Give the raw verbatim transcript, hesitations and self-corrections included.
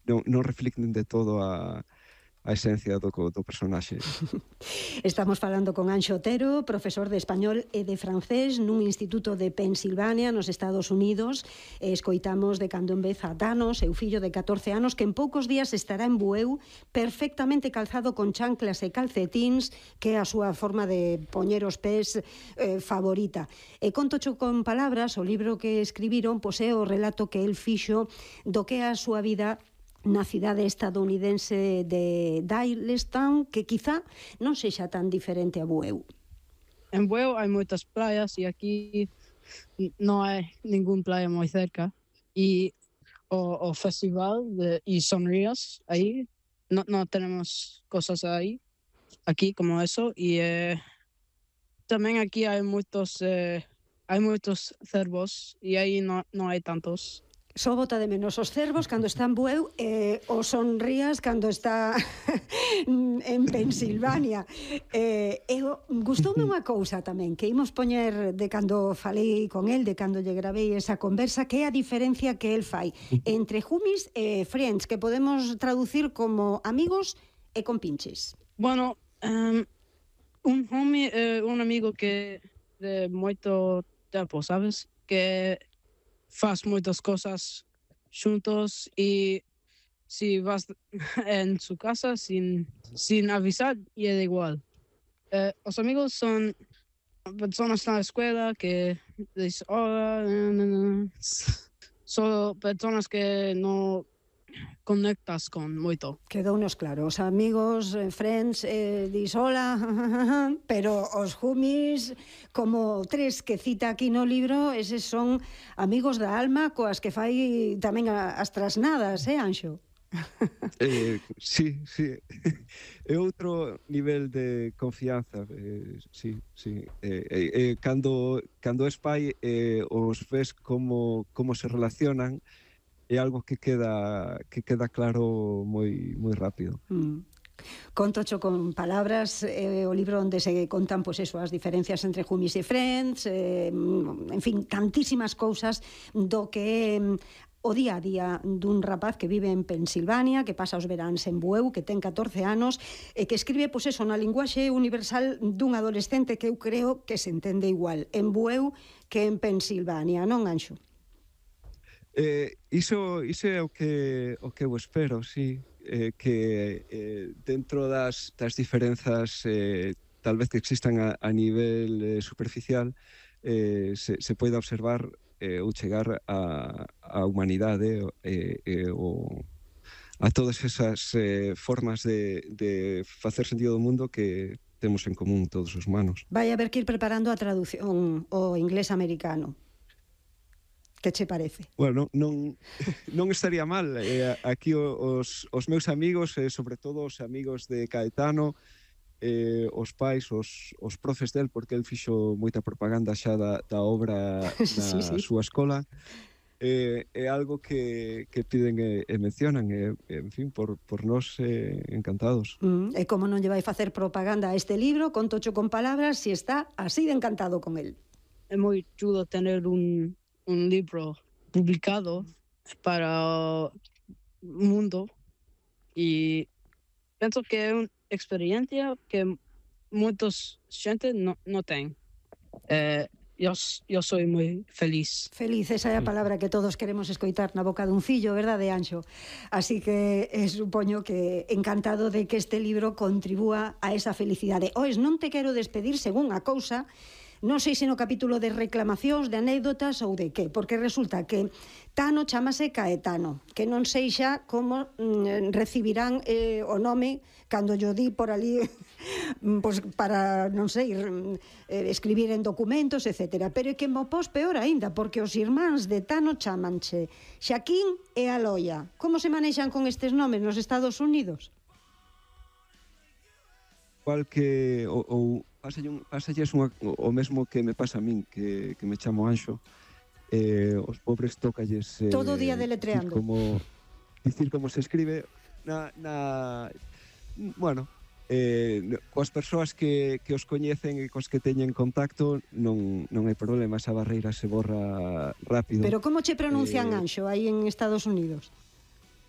non, non reflicten de todo a, a esencia do, do personaxe. Estamos falando con Anxo Otero, profesor de español e de francés nun instituto de Pensilvania, nos Estados Unidos. E escoitamos de cando en vez a Tano, seu fillo de catorce anos, que en poucos días estará en Bueu, perfectamente calzado con chanclas e calcetíns, que é a súa forma de poñer os pés eh, favorita. E contocho con palabras, o libro que escribiron, pois é o relato que el fixo do que é a súa vida na cidade estadounidense de Doylestown, que quizá non sexa tan diferente a Bueu. En Bueu hai moitas playas e aquí non hai ningún playa moi cerca. E o, o festival de y Sonrías, aí non no tenemos cosas aí, aquí como eso. E eh, tamén aquí hai moitos, eh, hai moitos cervos e aí non no hai tantos. Só bota de menos os cervos cando está en Bueu e os Sonrías cando está en Pensilvania. E, e gustoume unha cousa tamén que imos poñer de cando falei con el, de cando lle gravei esa conversa, que é a diferencia que el fai entre homies e friends, que podemos traducir como amigos e compinches. Bueno, um, un homie é un amigo que de moito tempo, sabes? Que faz moitas cosas xuntos e si vas en su casa sin, sin avisar e é igual. Eh, os amigos son personas na escuela que dicen hola, son personas que non conectas con moito. Quedounos claro, os amigos, eh, friends, eh, dis hola, pero os homies, como tres que cita aquí no libro, eses son amigos da alma coas que fai tamén as trasnadas, eh, Anxo? eh, sí, sí. É outro nivel de confianza, eh, sí, sí. Eh, eh, eh, cando, cando es pai, eh, os ves como, como se relacionan, é algo que queda que queda claro moi moi rápido. Mm. Contocho con palabras, eh, o libro onde se contan pois eso, as diferencias entre homies e friends, eh, en fin, tantísimas cousas do que é o día a día dun rapaz que vive en Pensilvania, que pasa os veráns en Bueu, que ten catorce anos, e que escribe, pois eso, na linguaxe universal dun adolescente que eu creo que se entende igual en Bueu que en Pensilvania, non, Anxo? Eh, iso, iso é o que, o que eu espero, sí, eh, que eh, dentro das, das diferenzas eh, tal vez que existan a, a nivel eh, superficial, eh, se, se poida observar eh, ou chegar a, a humanidade eh, eh, o, a todas esas eh, formas de, de facer sentido do mundo que temos en común todos os humanos. Vai haber que ir preparando a traducción ao inglés americano. Que che parece? Bueno, non, non estaría mal. Eh, aquí os, os meus amigos, eh, sobre todo os amigos de Caetano, eh, os pais, os, os profes del, porque el fixo moita propaganda xa da, da obra na sí, sí. súa escola, eh, é algo que, que piden e, e mencionan, e, en fin, por, por nós eh, encantados. Mm, e como non lle vai facer propaganda a este libro, contocho con palabras, si está así de encantado con el. É moi chulo tener un un libro publicado para o mundo e penso que é unha experiencia que moitos xente non no ten. Eh, eu, eu sou moi feliz. Feliz, esa é a palabra que todos queremos escoitar na boca dun fillo, verdade, Anxo? Así que eh, supoño que encantado de que este libro contribúa a esa felicidade. Oes, non te quero despedir según a cousa, non sei se no capítulo de reclamacións, de anécdotas ou de que, porque resulta que Tano chamase Caetano, que non sei xa como mm, recibirán eh, o nome cando yo di por ali pues, para, non sei, eh, escribir en documentos, etcétera. Pero é que mo pos peor aínda, porque os irmáns de Tano chamanche Xaquín e Aloia. Como se manexan con estes nomes nos Estados Unidos? Igual que ou, ou pasalles unha, o mesmo que me pasa a min, que, que me chamo Anxo, eh, os pobres tócalles eh, todo o día deletreando dicir como, dicir como se escribe na, na bueno eh, coas persoas que, que os coñecen e cos que teñen contacto non, non hai problema, esa barreira se borra rápido. Pero como che pronuncian eh, Anxo aí en Estados Unidos?